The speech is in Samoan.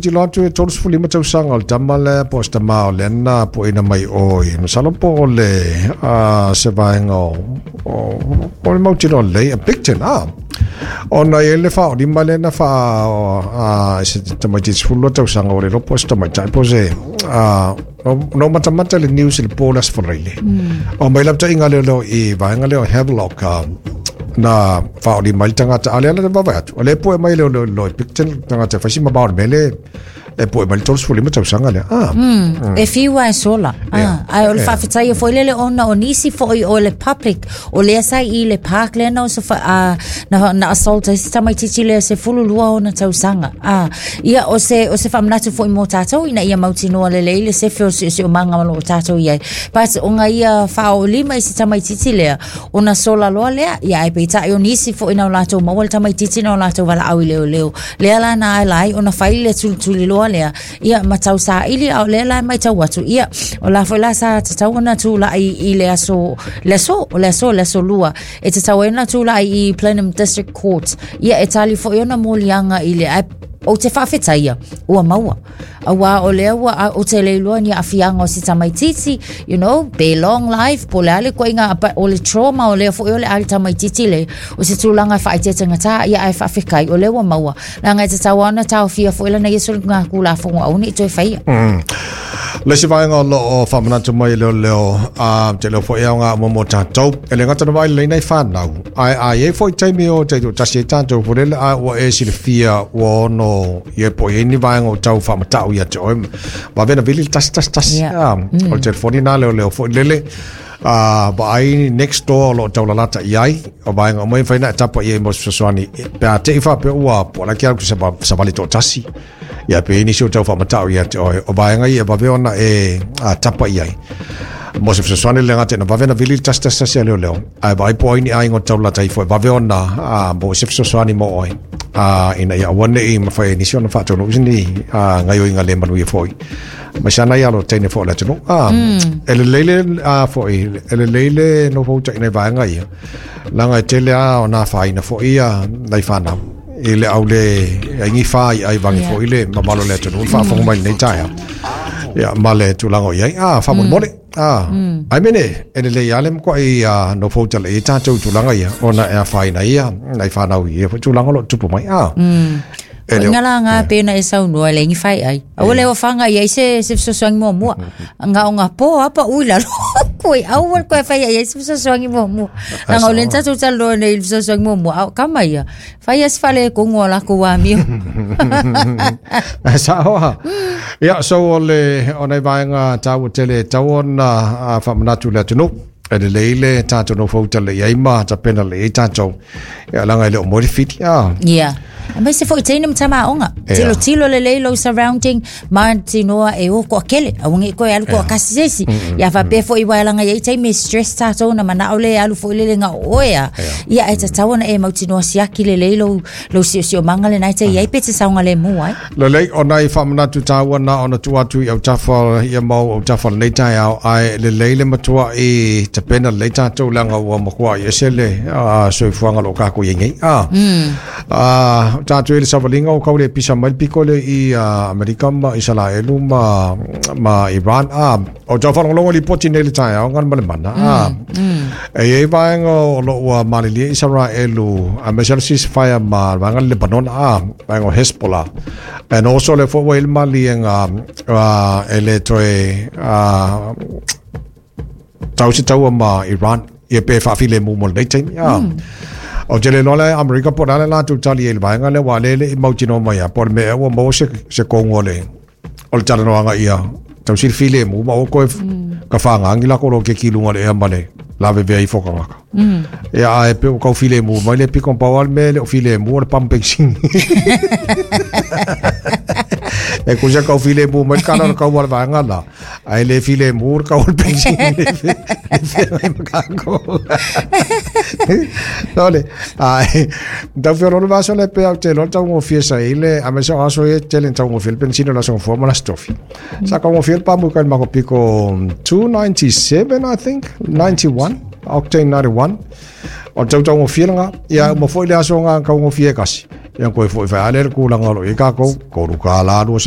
tilotilo atu e 35 tausaga o le tama lea po o se tama o lea na pueina mai o i masalo po o le se vaega o le mautinoa lelei a Picton ona i ai le faaolima lea na faa se tamaitiiti 12 tausaga ua le iloa po o se tamaitai po o se na ou matamata i le news i le po o le Aso Faraile. O mai lapataiga lea i vaega lea o Havelock na faaolima ai le tagata a o lea la vaavaai atu o lea e pue mai le leo i Picton le tagata e fai si mamao o le mea lea e pue mai le 35 tausaga lea. E fiu lava e sola. Ae o le faafetaia foi lele ona o nisi foi o le public o lea sa i le park lea na na assault ai se tamaitiiti lea 12 ona tausaga. Ia o se faamanatu foi mo tatou ina ia mautinoa lelei le sefe o le siosiomaga o lo o tatou i ai. But ona ia faaolima i se tamaitiiti lea, ona sola loa lea, ia ae peitai o nisi foi na o latou maua le tamaitiiti na o latou valaau i leoleo. Lea la na ala ai ona fai le tulituliloa lea, ia ma tau saili, a o lea la e matau atu, ia o la foi la sa tatau ona tulai i le aso, le aso, o le aso, le aso lua, e tatau ai ona tulai i Plenum District Court, ia e tali foi ona moliaga i le, ae ou te faafetaia, ua maua. Auā o lea ua ou te le iloa ni aafiaga o si tamaitiiti, pe long life, po o le a le ituaiga, but o le trauma o lea foi o le a le tamaitiiti le, o se tulaga e faaeteetegatā, ia ae faafetai, o lea ua maua. Leaga e tatau lava ona taofia foi lana ia soligatulafono aua ne i toe faia. Le isi vaega o lo o faamanatu mai e leoleo, a te leo foi aoga uma mo tatou. E le gata na vaai lelei nai whanau. Ae a i ai foi taimi o taitoatasi ai tatou foi lele a ua e silafia ua ono ia po o i ai ni vaega o tau faamatau ia te oe. Vave ona vili le 111. O le telefoni na leoleo foi lele. Vaai next door o lo o taulalata i ai. O vaega uma ia e mafai ona e tapa i ai mo se fesoasoani. Pe a te i faapea ua po o le a ke alu ki savali toatasi. Ia pe i ai nisi o tau faamatau ia te oe. O vaega ia e vave ona e tapa i ai. Mo se fesoasoani le gata ina vave ona vili le 111 a leoleo. Ae vaai po o ai ni aiga o taulalata ifo e vave ona maua se fesoasoani mo oe. Ina ia aua ne i mafai e nisi ona faataunuu se ni gaoioiga le manuia foi. Mai sana ia alo teine foi o le atunuu. E lelei le foi, e lelei le nofo utaina i vaega ia. Leaga e tele lava ona afaina foi ia nai fanau i le au le ai ni fa i ai vangi foi le mamalu o le atunuu le faafofoga mai i lenei taeao. Ia ma le tulaga o i ai. Faamolemole. Ai mene, e lelei lava le matuai nofo utalai ai tatou i tulaga ia ona e afaina ai ia nai fanau i ia foi tulaga o lo o tupu mai. E le o Nga la nga pe na e saunoa le ngi fai ai. Aua le whanga i ai se fesoasoani muamua. Nga o nga po apa ui lalo. Koe aua le koe fai ai se fesoasoani muamua. Leaga o lea na tatou talanoa nei i le fesoasoani muamua. Ao kama ia. Fai ia se fale e kongo a lakou amio. Sao a. Ia, so o le, o nai vaega taua tele e tatau ona faamanatu i le atunuu. E lelei le tatou nofo uta lelei ai ma tapena lelei ai tatou. Ia, leaga e le o moe le fili. Ia. Aemaise foi teine ma tama aoga. Tilotilo lelei lou surrounding, mautinoa e o toatele, aua ne i toe alu toatasi se isi. Ia faapea foi aua leaga e i ai taimi e stress tatou ona manao lea e alu foi lele na o oe a. Ia ae tatau ona e mautinoa siaki lelei lou lou siosiomaga lena e te i ai pe te saogalemu ai. Lelei, o nai faamanatu taua na ona tuu atu i autafa ia mau autafa o lenei taeao, ae lelei le matuai tapena lelei tatou leaga ua matuai ese le soifuaga o lo o tatou i ai nei. Tatou i le savaliga o tau le pisa mai le piko lea i Amerika ma Isalaelu ma Iran. O tau faalogologo lipoti nei le taeao ngana ma le mana. E i ai vaega o lo o ua malilie Isaraelu aemaise le ceasefire ma le vaega o le Lebanona, vaega o Hezbollah. And also lea foi ua i ai le maliega e le toe tau se taua ma Iran ia pe faafilemu mo lenei taimi. Ou te le iloa le Amerika po o le a le latou tali ai i le vaega lea, aua o lea e le i mautinoa mai lava po o le mea ea ua maua se kogu o le o le talanoaga ia tau sili filemu ma aua koe ka whāngangi la koro ke ki lunga le ea ma le lavevea ifo tagata. Ia ae pe ua tau filemu mai le piko pau a le mea e le o filemu o le pamu penisini. E kusa tau filemu mai le kala o le kaua o le vaega la, ae le filemu le kau o le penisini le feagai ma kākou. Nō le, ae, tau feoloolo le aso lea pea ou te iloa le taugofie sa i ai le, aemaise o aso ia e tele ina taugofie le penisini o le Aso Gafua ma le Aso Tofi. Sa taugofie le pamu i kai le matou piko 297 I think, 91, octane 91. O le tau taugofie lena. Ia uma foi le aso na taugofie e tasi. Ia koe foi fai a lea le tulaga o lo o i ai tatou, $3.25.